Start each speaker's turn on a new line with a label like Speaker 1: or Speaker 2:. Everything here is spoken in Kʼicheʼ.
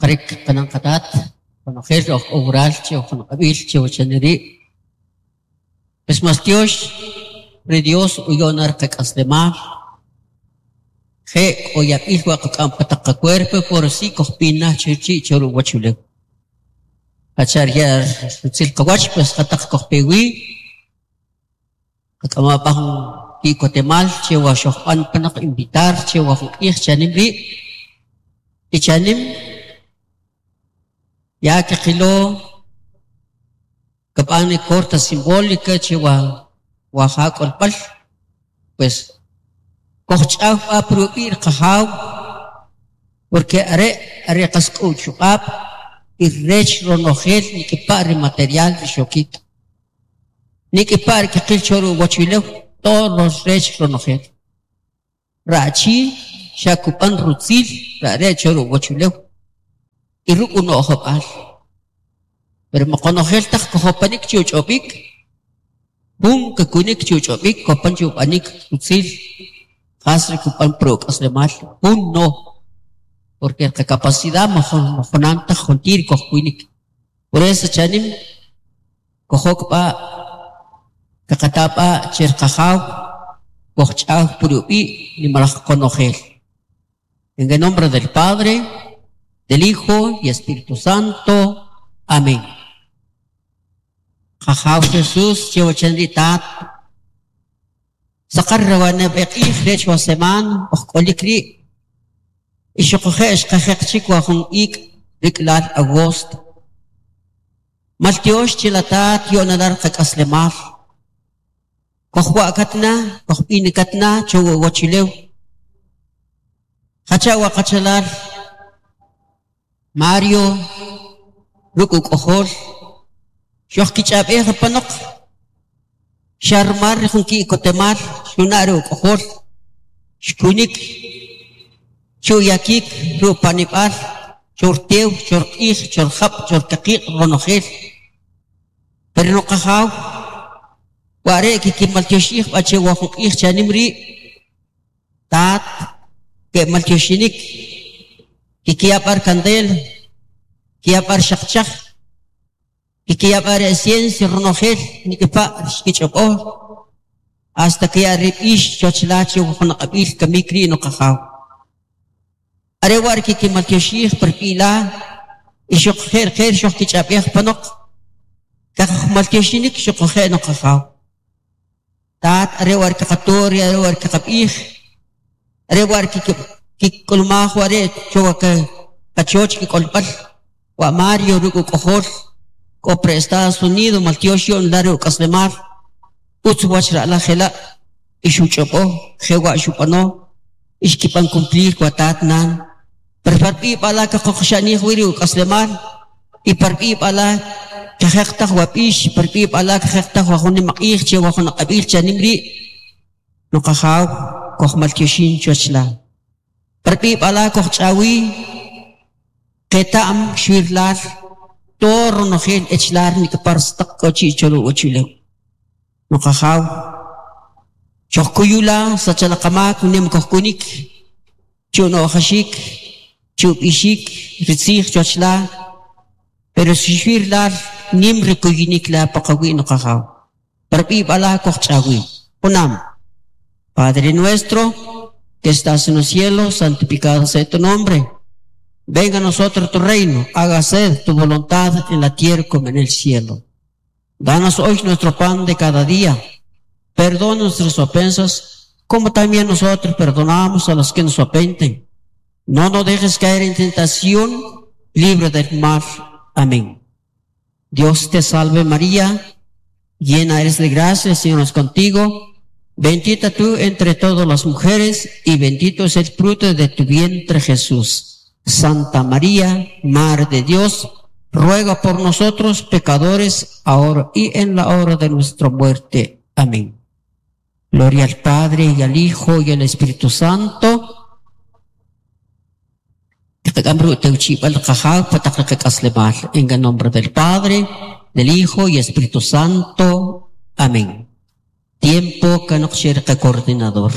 Speaker 1: Saqarik qanan qatat qonojel oj k'o wural che jun aq'ab'il che wachane ri' pues maltyox ri Dios uyo'n na qak'aslemal je' k'o yab'il wa qak'am pa taq qacuerpo pero si kojb'in na chi chi' cho uwachulew jacha' riya' rutzil qawach pues jataq kojpe wi qak'ama b'a jun ki'kotemal che wa xojb'an panaq invitar che wa jun q'ij chanim ri' y chanim ya kaqilo kab'an corta simbólica che wa wa ja k'olb'al pues kojch'aw b'a pi rub'i' qajaw porque are' are qas k'o uchuq'ab' y rech ronojel nik'ipa' ri material ri xokik nik'ipa' ri kaqil cho uwachulew todo rech ronojel ra'chi xa kub'an rutzil rare' cho uwachulew y ruk' uno'job'al pero qonojel taq kojopanik che uch'ob'ik jun kakunik che uch'ob'ik kopan che ub'anik rutzil qas ri kub'an pi ruk'aslemal jun no porque qacapacidad majunan taj juntir kojkunik por eso chanim kojok b'a' kaqata b'a' che qajaw kojch'aw pi rub'i' nimalaj qonojel. En el nombre del Padre, del Hijo y Espíritu Santo. Amén. Qajaw Jesús che wachan ri tat saqar rawaneb' q'ij rech wa semana oj k'olik ri' y xuquje' xqajeq chik wa jun ik' rik'lal agosto maltyox che la tat yo'nalar qak'aslemal kojwa'katna kojb'inikatna cho uwachulew jacha' wa qachalal Mario ruk' uk'ojol xojkich'ab'ej apanoq xarmar jun ki'kotemal xuna' ri uk'ojol xkunik chuyakik rupanib'al chortew chorq'ij chorjab' chorkaqiq' ronojel pero no qajaw ware' kikimaltyoxij b'a che wa jun q'ij chanim ri' tat ke'maltyoxinik kikiyab'ar kandel kiyab'ar xaqchaj kikiyab'ar ciencia ronojel nik'ipa' xkich'ob'o hasta que rib'ix chochla che jun aq'ab'il kamik ri' no qajaw are wa' kikimaltyoxij per b'ila y xuquje' qer xojkich'ab'ej panoq kajmaltyoxinik xuquje' no qajaw tat are wa' kaqato are wa' kaqab'ij are wa' kik'ulmaj ware' cho qachoch kik'olb'al wa Mario ruk' uk'ojol k'o pre Estados Unidos maltyox yo'n la ruk'aslemal utz wach ra'laj jela' y xuch'ob'o jewa' xub'ano y xkib'an cumplir wa tat nan pero parb'i b'ala kaqoqxa'nij wi ri uk'aslemal y parb'i b'ala kajeq taj wa b'ix parb'i b'ala kajeq taj wa jun nimaq'ij che wa jun aq'ab'il chanim ri' no qajaw kojmaltyoxin choch la parb'i b'ala kojch'awi qeta'm xwirlal todo ronojel echlar nik'par staq k'o chi' cho uwachulew no qajaw chojkuyula sachalaqamak nim kojkunik chu'no'jaxik chu'b'ixik ritzij choch la pero si xwirlal nim rikuyinik la paqawi' no qajaw parb'i b'ala kojch'awi junam Padre nuestro que estás en los cielos, santificado sea tu nombre. Venga a nosotros tu reino, hágase tu voluntad en la tierra como en el cielo. Danos hoy nuestro pan de cada día. Perdona nuestras ofensas, como también nosotros perdonamos a los que nos ofenden. No nos dejes caer en tentación, libre del mal. Amén. Dios te salve María, llena eres de gracia, el Señor es contigo. Bendita tú entre todas las mujeres y bendito es el fruto de tu vientre Jesús. Santa María, Madre de Dios, ruega por nosotros pecadores, ahora y en la hora de nuestra muerte. Amén. Gloria al Padre y al Hijo y al Espíritu Santo. En el nombre del Padre, del Hijo y Espíritu Santo. Amén. Tiempo que coordinador.